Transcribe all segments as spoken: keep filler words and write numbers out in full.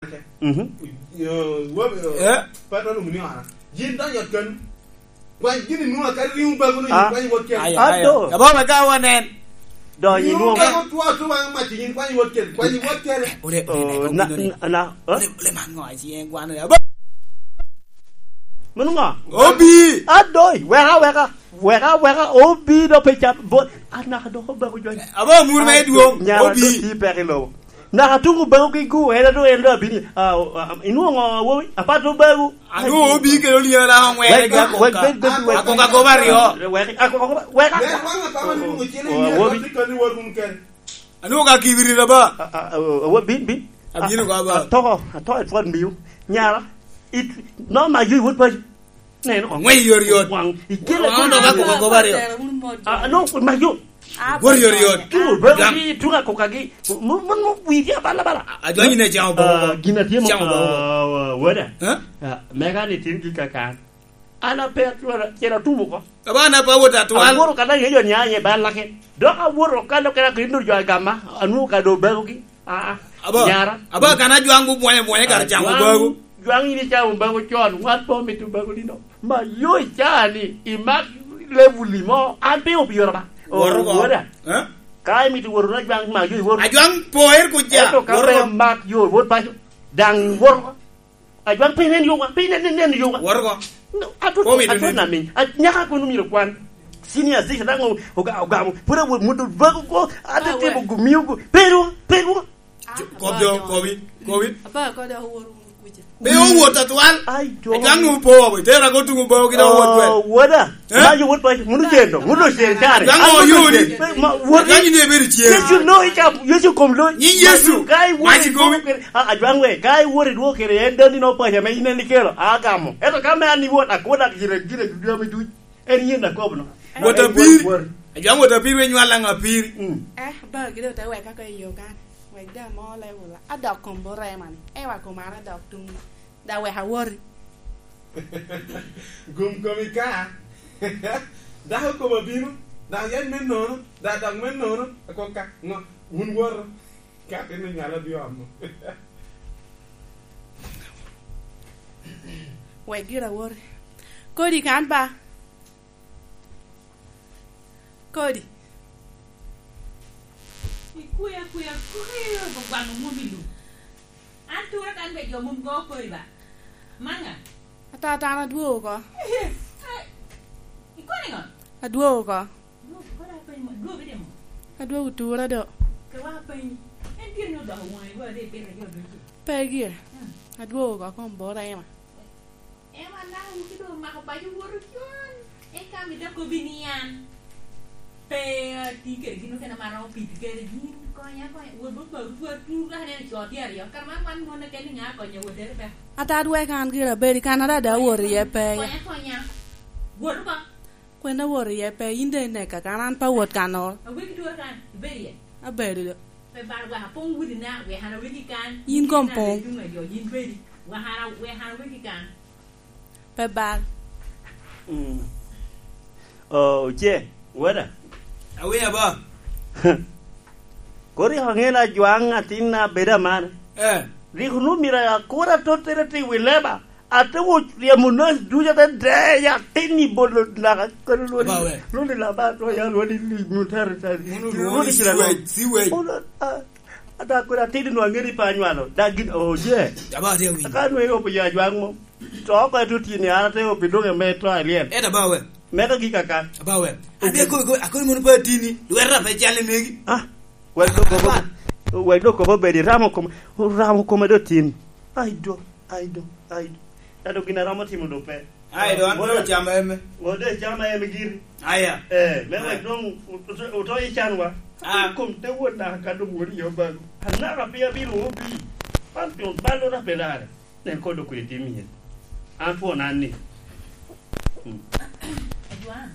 Mhm. Yo, wo-, yo, Eh? Patro lum ni ora. Yin donyo ot kano. Kwany gin i nwoŋo akadi riŋo bago ni Ah. Kwany wot kene. Aya, Ado. Aya. Abo me ka wanen. Donyo i nwoŋo. Riŋo bago two two waŋ mac yin kwany wot kene. Kwany wot kene. Ole, ole, Oh, ole, na, ole, ole. Na, na, eh? Ole, ole, ma ŋo aci en gwano ya. Abo. Mano ŋo? Obi. Adoi, weka, weka. Weka, weka, obi do pe cap. Bo, anaka dok obago jony. Abo mur me dwong. Nyara Obi. Do ti pek i lobo. Naka tuŋ obago gi gu, en ado, en do abini. Ah, oh, ah, inwoŋo ŋo, awobi? Apat obago. Anu obi kelo lyela ŋwere Wek, ga wek, koka. Wek, wek, wek. Akoka goba aryo. Wek, akoka goba, wek. Wek, wek, wek, wek. Oh, awobi. Anu ka kibiri na ba. Ah, ah, oh, oh, bin, bin. Abino ka ba. Ah, atoko, atoko i twon miu. Nyara. It, no, ma yui wot pa. Neno. Ŋwec yot yot. Waŋ, ikele Waŋ dok akoka goba aryo. Ah, no, ma yo. Wot yot yot. Tuŋ, bero Jam. Gi, tuŋ akoka gi. Mo, mo, mo, wiri abala bala. Ajwanyi ne jam bo. Ah, gin atye mo, Jam bo. Ah, wada. Eh? Ah, mega ni tin gi kakan. An ape atwara, cera tumo ko. Aba na pa wot atwal. Aworo kana ye yo nya ye bala ke. Dok aworo kana kena kindo jo agama, anu ka do bego gi. Ah, ah. Aba, Nyara. Aba kana jwaŋ bu bwanya bwanya kar Ah, camo jwaŋ, bago. Jwaŋ ini camo bago con, wan po mitu bago dino. Ma yo icani, imak level mo, an pe obiyoro ba. Woro ko. Woda. Eh? Ka imito woro na jwaŋ ma yo iworo. Ajwaŋ poer ku ja. Ento ka Woro pe ko. Mak yo, wot paco. Daŋ woro ko. Ajwaŋ pe nen yo wa, pe nen, nen, nen yo wa. Woro ko. No, ato, Komi ato dede. Na min. A, nyaka kono miro kwan. Senior six daŋ o-, oga-, ogamo. Pura wo mudo bago ko, ate Ah, temo we. Gumiyo go. Pero, pero. Kobi, kobi, kobi. Apa ko da woro kuja. Pe owot atwal. Ai, jo. Ajwaŋ nu po, itera ko tuŋ bo ki da wot we. Oh, woda. Eh? Ma yo wot pa, munu jendo, munu jendo tare. Ajwaŋ oyudi. Ma, wot. Ajwaŋ ni ebedo cien. Yesu no, ica, Yesu kom lo. Nyi Yesu. Ka i wot. Maci komi. Ah, ajwaŋ we, ka i wot i dwoko kede en dandi no paco ame in en ikelo, agamo. Ento ka me an i wot, akoda gire, gire, gire me duc. En yen akobo no. Wot apiri. Wot. Ajwaŋ wot apiri we nywal aŋ apiri. Mm. Eh, ba gire ote weka ko i yo kan. Wek da mo level. Adok kom bo rema ni. Ewa kom an adok tung. Da wek awoti. Gum komi ka. Dako kome obino, dok yeny me nono, dok dok me nono, akok ka, ŋo, wun woto, ka atino nyala bino amo. Wek gira woti. Kodi kan ba. Kodi. Ikwea kwea, kwea, gwagwang omwomo i lum. An tura kan be jo mom go kodi ba. Manga. Atata an adwogo oko. Ai, ikoni ŋo? Adwogo oko. Dwogo oko da penyi mo, dwogo ide mo? Adwogo tura do. Ke wa penyi. En gire ni odoko wonge go ade pire jo ducu. Pe gire. Hmm. Adwogo oko kom bora ema. Ema naka wuki do mako paco woto con. Eka mi dok kobi ni an. Pe ati kede gin okene maro piti kede gin konya konya. Wot bot baru dwa tur ka neno co tye aryo. Kara man wan mon okene ŋa konya wot dere pe. Ata dwek an gira bedi kan ada da wot iye pe. Konya konya. Wot ko. Kwen awot iye pe, yin de ineka kan, an pe awot kannoro. Awegi tworo kan, ibedo iye? Abedo do. Pe bal wek apong wudina, wek an awegi kan. Yin kom pong. Yin ituŋ ajo, yin bedi. Wek an a-, wek an awegi kan. Pe bal. Mm. Oh, oce, wada. Awinyo ba. Kodi rik aŋeo ni ajwaŋ atinna bedo amane. Eh. Rik onwoŋo myero akur atottere tye i wi leba. Ate wo ryemo nas ducu ate deyo atin i bolo naka kano lwoni. Aba we. Lwoni laba to ya lwoni li mutare tare. Munu lwoni Lwoni kira siwej, siwej. Ono, a, ada kura atin no angeni pa nywalo. Da gin, oh, je. Aba ate wi. Aka nwe opo ya jwang mo. To ko eto tini an ate opi doge me to alien. Eta ba we. Meka gi kaka. Aba we. Ade ko, ko, ako mono pa tini. Lwera pe chale megi. Ah. Wek dok kobo, wek dok kobo bedi ramo kome, ramo kome do tin. Ai do, ai do, ai do. Ento gin aromo timo do pe. Ai do, an pe ocama eme. Ode cama eme giri. Aya. Eh, me wek dong oto, oto i canwa. Ah. Kom te wot naka ka dong wot i obago. Anaka pia bino obi. Pan pio balo na pelare. Nen kodo kwede tim iye. An twon an ni. Mm. Ajwaŋ.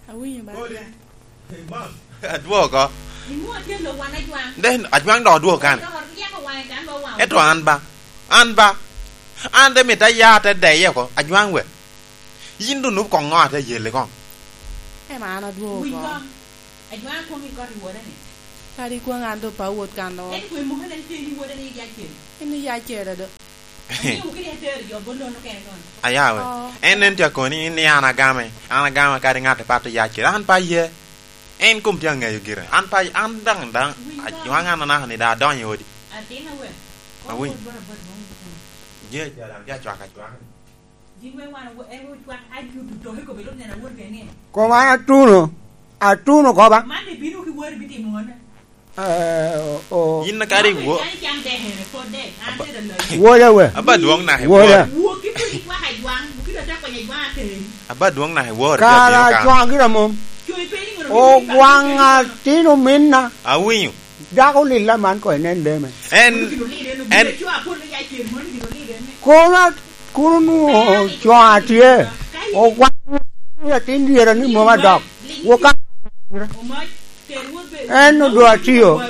Awinyo ba. Kodi. Hey, Bob. Adwogo. Imwoŋ atye lo wan Ajwaŋ. Den, Ajwaŋ dok odwogo kane. Dok oryeko waŋe kan lo waŋe. Eto an ba. An ba. An de mit aya te deye oko. Ajwaŋ we. Yin dun nup koŋ ŋo ate yelle koŋ. Ema an adwogo Winy oko. Koŋ. Ajwaŋ koŋ ikot i wode ni. Kadi kwan an doŋ pe awot kan o. Ento kwe moko en pe ni wode ni yac kede. En ni yac kede do. Amiyo kede atero jo bot lono kene kono. Ayawe. Oh. En nen tye akoni, in ni an agame. An agame kadi ŋat pato yac kede. An pe aye. En kom tye aŋeyo gire. An pe, an daŋ, daŋ, ajwaŋ an anaka ni daŋ adonyo i odi. Atin awe. Awiny. Kong wot bot abot bong kuno. Je, je, daŋ, je acwak acwak. Gin wek wan owo-, en ocwak ajuto toke kome, lok nen awot bene ni. Kom an atuno, atuno koba. Man ibino ki wori bitimo ŋone. Eh, o, o. Yin kare iwo. Kan cam dek ene, pod dek, an Aba-, tye da loyo. Woda we. Aba dwong naka iwor. Woda. Wuok ki pwod icwak ajwaŋ, wuok ki dok te konyo ajwaŋ ateri. Aba dwong naka iwor, kara abino kan. Acwaŋ gira mom. Coyi pe ni ŋolo. Ogwaŋ atino minna. Awinyo. Dako lilla man ko inen leme. En, en, kona, kun onwoŋo coŋ atye, ogwaŋ atin dyere ni mom adok. Woka, en odo atio.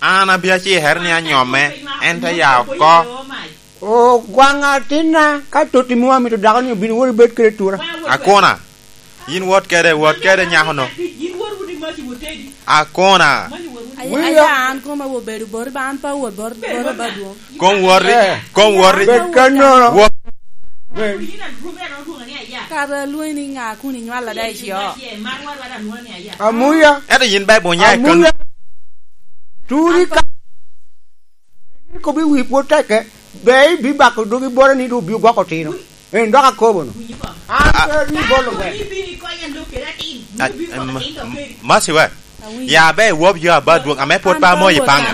An abia cikere ni anyomme, en te ya oko. Ogwaŋ atinna, ka totti mom amito dako ni obin wot ibed kede tura. Akona. Yin wot kede, wot kede nyako-no. Akona. Aya, aya, an koma obedo bot ba, an pe awot bot, bot ba dwong. Kom woti, eh, kom woti. Bed kannono. Wot. Bed. Kara lwongi ni ŋa kun inywalla da i cio? Amuya. Ento yin ba ibonya i kan. Amuya. Turi ka. Kobbi wi pwod tekke, be ibibako dogi bota ni doŋ obio gwoko otino. En dok akobo no. An pe ni bolo gwe. A, em, Masi we. Ya be iwob jo aba dwong, ame pwod pa moyo i paŋa.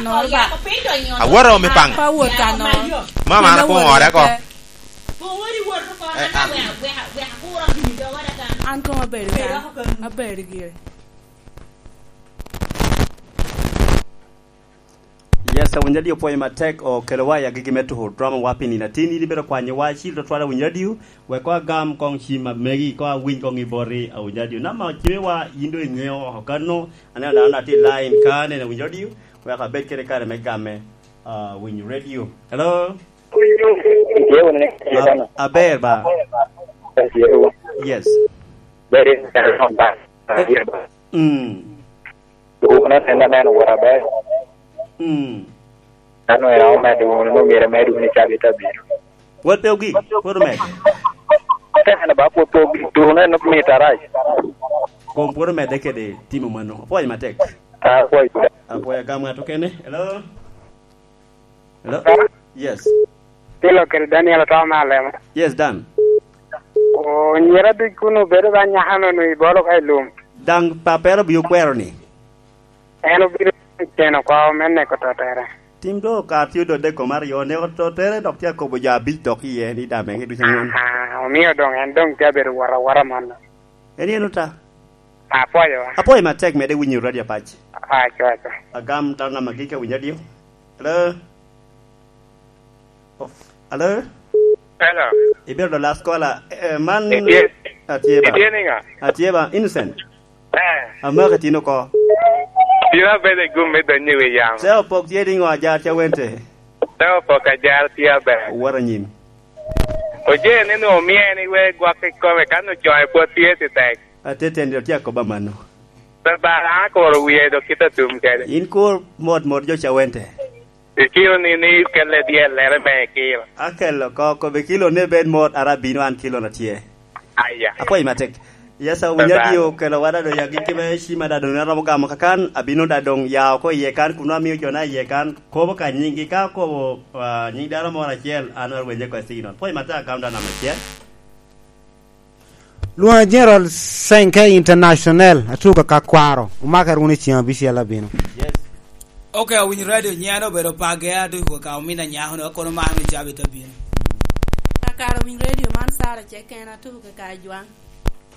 Aworo mi paŋa. Mama an apoŋo ore ko. Eh, ah. An koŋ abedo kan. Abedo gire. Yes, awinyo radio pwoyo matek, okelowa i agigi me tuko drama wa pi nino atin. In ibedo kwanyowa acil tutwal, awinyo radio, wek koŋ agam koŋ cim amegi, koŋ awiny koŋ i boti, awinyo radio. Namba ocimewa, yin doŋ iŋeo oko kano, aneno dano atye i line ka, aneno awinyo radio, wek abed kede kare me gamme, ah, winyo radio. Hello? Itye wunu ni, a-, aber ba? Yes. Ber in, mm. Dwokona en aneno wot aber. Mm. Dano en omedde wunu, nwoŋo myero emed wunu i cabit abiro. Pwod pe ogik, pwod omedde. Te en ba pwod pe ogik, dwokona en mit arac. Kom pwod omedde kede timo mano. Apwoyo matek. Apwoyo. Apwoyo, agam ŋat okene. Hello? Hello? Hello? Yes. Tilo kede Daniel otamo me alema. Yes, Dan. Onyira duc kun obedo ba nyaka nono i bolo ka i lum. Daŋ pappere obio kwero ni? En obino ceno kwa me neko totere. Tim do ka tye odode kom aryo, neko totere dok tye akobo jo abic dok iye ni daŋ mege ducu aŋwen. Aha, omio doŋ en doŋ tye abedo wot awota mano. En yen ota. Apwoyo. Apwoyo matek, mede winyo radio apac. Aco, aco. Agam dano namba gik awinyo adio. Hello? Oh, hello? Hello. Ibedo the last caller. Eh, man. Itye, atye ba. Itye niŋa? Atye ba, Innocent. Eh. Amaka tin oko. Tin abedo i gum me donyo i wi yamo. Se opok tye niŋo ajar ca wente? Se opok ajar tye aber. Wot anyim. Oje ni nwoŋo omie ni wek gwok i kome, kan ocoŋe pwod tye titek. Ateteni dok tye akoba mano. Pe bala, an akuro wie dok kit atum kede. In kur mot mot jo cawente. Ikiro ni, ni kelle dyellere me ikiro. Akelo oko, kobe kilo ne bed mot, ara bino an kilo na tye. Aya. Apwoyo matek. Yes, awinyo. Bye bye. Adi okelo wada do yagi kibe cima da dong aromo gamo kakan, abino da dong ya oko iye kan, kun amiyo jo na iye kan, kobo ka nyinggi, ka kobo, ah, nying dano moro acel, an arwenye ko signal. Apwoyo matek, agam da namba acel. Lwonga General Senke International, atuka ka kwaro, omakere wunu i ceng abicel abino. Yes. Ok, awinyo radio nyen obedo page, atuka ka omin anyako no, kono mano i cabit abino. Kakare awinyo radio man, Sarah Ceken, atuka ka Ajwang.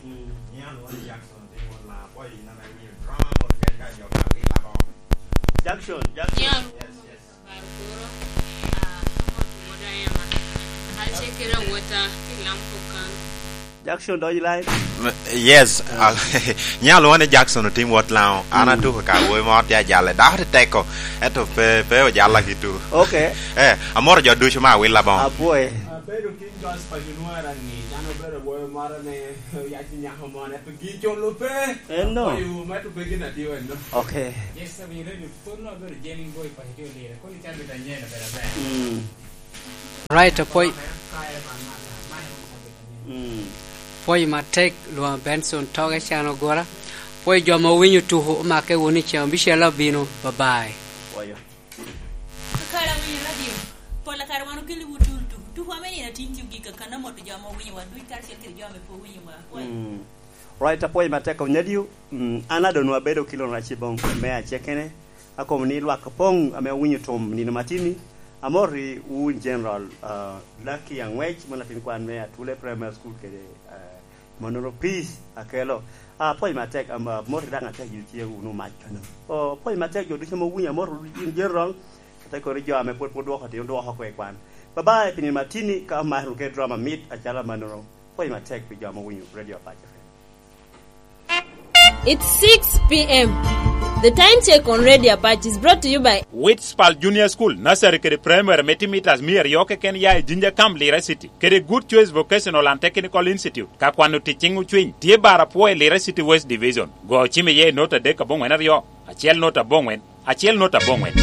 Mm, nyen lwonga Jackson, Jackson, Jackson, Jackson, Jackson, Jackson, Jackson, Jackson, Jackson, Jackson, Jackson, Jackson, Jackson. Yes, yes. Kare kuro, ah, amot wota Emma. An ce kede awota, pi lam kok kan. Jackson, dog i line. M-, yes, ah, nyalo wane Jackson otim wot Lango. An, mm, atuko ka awobi mo tye ajale. Dako tye teko, ento pe, pe ojalla ki tu. Ok. Eh, amoro jo ducu ma awilla boŋo. Apwoye. Bedo King George pa January ni, dano bedo woyo moro ni, oyac nyako mone, pe gi colo pe. Eno. Oyo, me to pe gin atio eno. Okay. Yes, sir, we ready. Pwod no bedo Jenny Boy pa Hitio Lira. Koni chan bita nyena bedo ber. Mm. Right, apwoy. Kaya man mata, man Mm. Pwoy matek, lwonga Benson Toge Can Ogura. Pwoy jo ma owinyo tuku, omake wunu i ceng abicel abino. Bye bye. Pwoyo. Kakare awinyo radio. Pol kare wan okeliwu tul tuku. Tuku ame nino atin tye ogik, akana moto jo ame owinyowa duc karacel kede jo ame pe owinyowa. Pwoyo. Mm. Right, apwoyo matek, Onyadiu. Mm, an adonwu abedo ki Lon Raci Bong me acekene. Akobo ni lwak opoŋ ame owinyo tum nino matini. Amoti wun General, ah, Lucky Angwec, mon atin kwan me Atule Primary School kede, ah, Manoro Peace Akelo. Ah, apwoyo matek, am-, amoti daŋ atek jo tye wunu mac kano. Oh, apwoyo matek jo ducu ame owinyo, amoti wunu in General, ate koni jo ame pwod, pwod dwoko tin, dwoko oko i kwan. Bye bye, pi nino matini ka omaro ke drama mit acalo manoro. Apwoyo matek pi jo ame owinyo Radio Apac F M. It's six p m. The time check on Radio Apache is brought to you by Witspal Junior School, Nursery kede Primary me timo mitas mia aryo keken ya i Jinja Camp, Lira City, kede Good Choice Vocational and Technical Institute. Ka kwano tic ciŋ ocwiny, tye bar apwoyo i Lira City West Division. Go cim iye i not adek aboŋwen aryo, acel not aboŋwen, acel not aboŋwen.